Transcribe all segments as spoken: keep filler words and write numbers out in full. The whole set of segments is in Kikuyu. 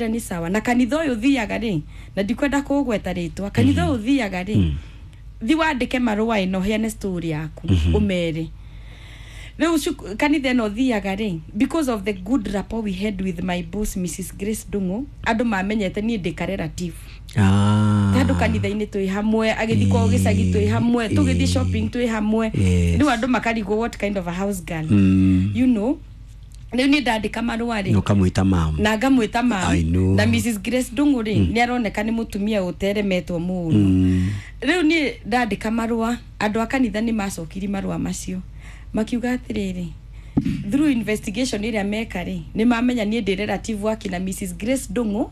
Nĩ sawa na kanitha ũyũ thiaga rĩ, na ndikwenda kũgweta rĩtwa, kanitha ũyũ thiaga rĩ, thi wandĩke marũa ĩno, heane story yaku, ũmere rĩu cuku- kanitha ĩno thiaga rĩ, because of the good rapport we had with my boss, Missus Grace Ndung'u, andũ mamenyete niĩ ndĩ ka relative. Ah. Tondũ kanitha-inĩ twĩ hamwe, agĩthiĩ kwao gĩcagi twĩ hamwe, tũgĩthiĩ shopping twĩ hamwe. Yes. Rĩu andũ makarigwo what kind of a house girl. Mm. You know rĩu niĩ ndandĩka marũa rĩ, ũkamwĩta mam. Na ngamwĩta mam. I know. Na Missus Grace Ndung'u rĩ, nĩ aroneka nĩ mũtumia ũteremetwo mũno. Mm. Rĩu niĩ ndandĩka marũa, andũ a kanitha nĩ macokirie marũa macio makiuga atĩrĩrĩ, through investigation ĩrĩa meka rĩ, nĩ mamenya niĩ ndĩ relative wake na Missus Grace Ndung'u,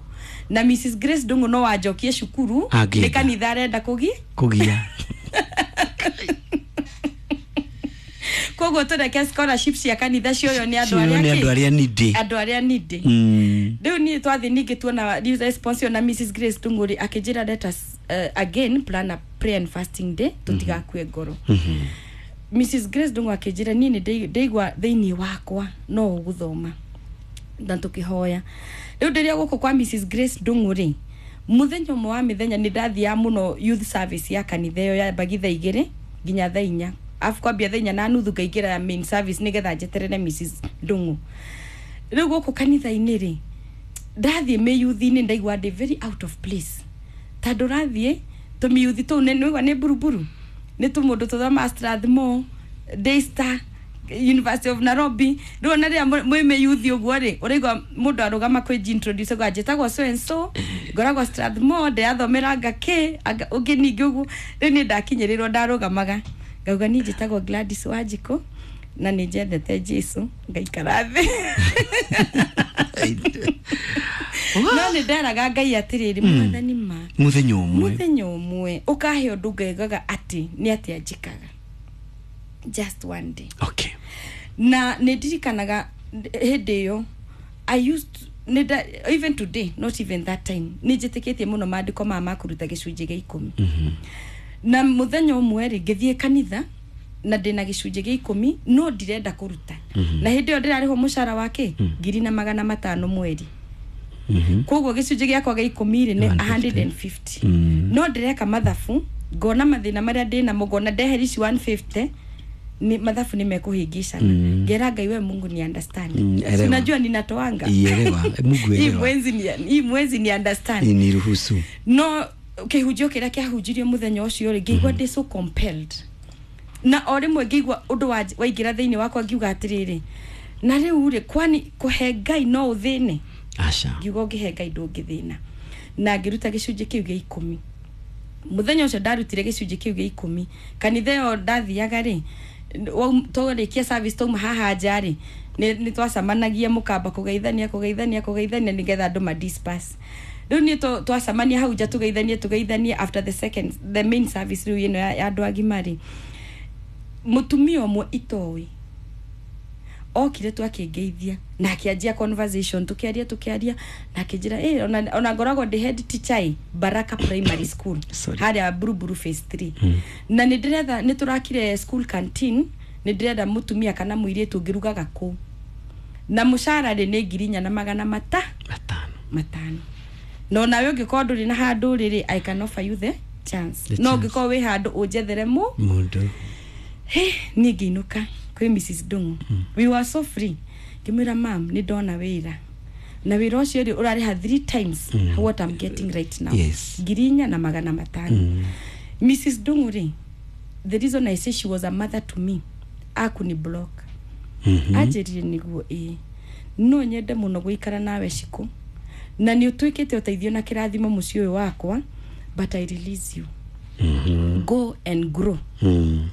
na Missus Grace Ndung'u no wanjokie cukuru. Angĩenda. Nĩ kanitha arenda kũgi kũgia. Koguo tũreke scholarship cia kanitha cioyo nĩ andũ Cio arĩa nĩ andũ kĩ? Arĩa nindĩ. Andũ arĩa nindĩ. Mm. Rĩu niĩ twathiĩ ningĩ tuona response ĩyo na Missus Grace Ndung'u rĩ, akĩnjĩra, "Let us uh, again plan a prayer and fasting day, tũtigakue ngoro." Missus Grace Ndung'u akĩnjĩra, "Niĩ nĩ ndĩ- ndĩigua thĩinĩ wakwa no ũgũthoma," na tũkĩhoya. Rĩu ndĩrĩa gũkũ kwa Missus Grace Ndung'u rĩ, mũthenya ũmwe wa mĩthenya nĩ ndathiaga mũno youth service ya kanitha ĩyo, yambagi thaa igĩrĩ nginya thaa inya, afu kwambia thaa inya na nuthu ngaingĩra ya main service nĩgetha njeterere Missus Ndung'u. Rĩu gũkũ kanitha-inĩ rĩ, ndathiĩ mĩyuthi-inĩ, ndaigua ndĩ very out of place, tondũ rathiĩ tũmĩyuthi tũu nĩ nĩigua nĩ mburuburu, nĩ tũmũndũ tũthoma Strathmore, Daystar, University of Nairobi. Rĩu ona rĩrĩa mwĩ mwĩ mĩyuthi ũguo rĩ, ũraigua mũndũ arũgama kwĩ introduce gwa, "Njĩtagwo so and so, ngoragwo Strathmore, ndĩrathomera anga kĩ anga ũngĩ." Ningĩ ũguo rĩu niĩ ndakinyĩrĩrwo, ndarũgamaga ngauga, "Niĩ njĩtagwo Gladys Wanjikũ na nĩ njendete Jesu," ngaikara thĩ. No nĩ nderaga Ngai atĩrĩrĩ, "Mwathani, ma mũthenya ũmwe, mũthenya ũmwe ũkahe ũndũ ngaigaga atĩ nĩ atĩa njĩkaga, just one day." Okay na nĩ ndirikanaga hĩndĩ ĩyo I used nĩ nda- even today, not even that time, nĩ njĩtĩkĩtie mũno maandĩko maya ma kũruta gĩcunjĩ gĩa ikũmi. Na mũthenya ũmwe rĩ, ngĩthiĩ kanitha na ndĩna gĩcunjĩ gĩa ikũmi no ndirenda kũruta, na hĩndĩ ĩyo ndĩrarĩhwo mũcara wake ngiri na magana matano mweri. Koguo gĩcunjĩ gĩakwa gĩa ikũmi rĩ, nĩ igana rĩa mĩrongo ĩtano. Mm. No ndĩreka mathabu, ngona mathĩna marĩa ndĩnamo, ngona ndeheri ici igana rĩa mĩrongo ĩtano ni mathabu nĩ mekũhĩngĩcana. Mm. Ngera Ngai, "We Mungu, ni understand." Mm, elewa. Si unajua ninatoanga. Ielewa. Mungu, hii elewa. Mwezi ni hii mwezi ni understand. Niruhusu. No kĩhunjio kĩrĩa kĩahunjirio mũthenya ũcio rĩ, ngĩigua ndĩ so compelled, na o rĩmwe ngĩigua ũndũ wa- waingĩra thĩinĩ wakwa, ngiuga atĩrĩrĩ, na rĩu rĩ, kwani kũhe Ngai no ũthĩne? Aca. Ngiuga ũngĩhe Ngai ndũngĩthĩna, na ngĩruta gĩcunjĩ kĩu gĩa ikũmi. Mũthenya ũcio ndarutire gĩcunjĩ kĩu gĩa ikũmi, kanitha ĩyo ndathiaga rĩ, waum- twarĩkia service, twauma haha nja rĩ, nĩ nĩ twacemanagia mũkamba kũgeithania, kũgeithania, kũgeithania nĩgetha andũ ma disperse. Rĩu niĩ twa- twacemania hau nja tũgeithanie, tũgeithanie after the second, the main service rĩu ĩno ya ya andũ agima rĩ, mũtumia ũmwe itoĩ okire tu akĩngeithia na akĩanjia conversation, tukiaria, tukiaria, na akĩnjĩra, "Eh, ona, ona ngoragwo ndĩ head teacher ĩ Baraka Primary School." Sorry. Harĩa Buruburu Phase three, "na nĩ ndĩretha, nĩ tũrakire school canteen, nĩ ndĩrenda mũtumia kana mũirĩtu ũngĩrugaga kũu, na mũcara rĩ, nĩ ngiri inya na magana mata matano." Matano. No nawe ũngĩkorwo ndũrĩ na handũ rĩrĩ, I can offer you the chance. The No chance. ũngĩkorwo wĩ handũ, ũnjethere mũ mũndũ. He niĩ ngĩinũka kwĩ Missus Ndung'u. We were so free. Ngĩmwĩra, "Mam, nĩ ndona wĩra, na wĩra ũcio rĩ, ũrarĩha three times mm. what I'm getting right now." Yes. Ngiri inya na magana matano. Mm. Missus Ndung'u rĩ, the reason I say she was a mother to me, akuni block. Mhm. Anjĩrire, "Nĩguo, ĩĩ, no nyende mũno gũikara nawe Cikũ, na nĩ ũtuĩkĩte ũteithio na kĩrathimo mũciĩ ũyũ wakwa, but I release you. Mhm. Go and grow." Mm.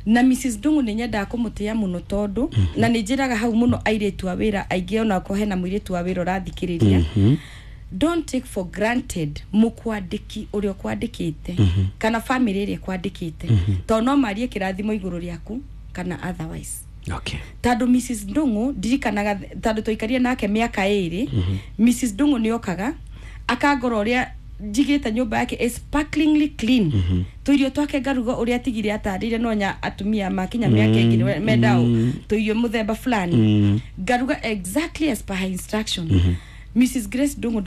Na Missus Ndung'u nĩ nyendaga kũmũtĩa mũno, tondũ na nĩ njĩraga hau mũno airĩtu a wĩra aingĩ, onakorwo hena mũirĩtu wa wĩra ũrathikĩrĩria, Mhm. don't take for granted mũkwandĩki ũrĩa ũkwandĩkĩte kana family ĩrĩa ĩkwandĩkĩte, tondũ no marie kĩrathimo igũrũ rĩaku kana otherwise. Okay. Tondũ Missus Ndung'u, ndirikanaga tondũ twaikarire nake mĩaka ĩrĩ, Missus Ndung'u nĩ okaga akangora ũrĩa njigĩte nyũmba yake is sparklingly clean, tũirio twake ngaruga ũrĩa atigire atarĩire, no nya atumia makinya mĩaka ĩngĩ mendao tũirio mũthemba fulani. Mm. Ngaruga exactly as per her instruction. Missus Grace Ndungu.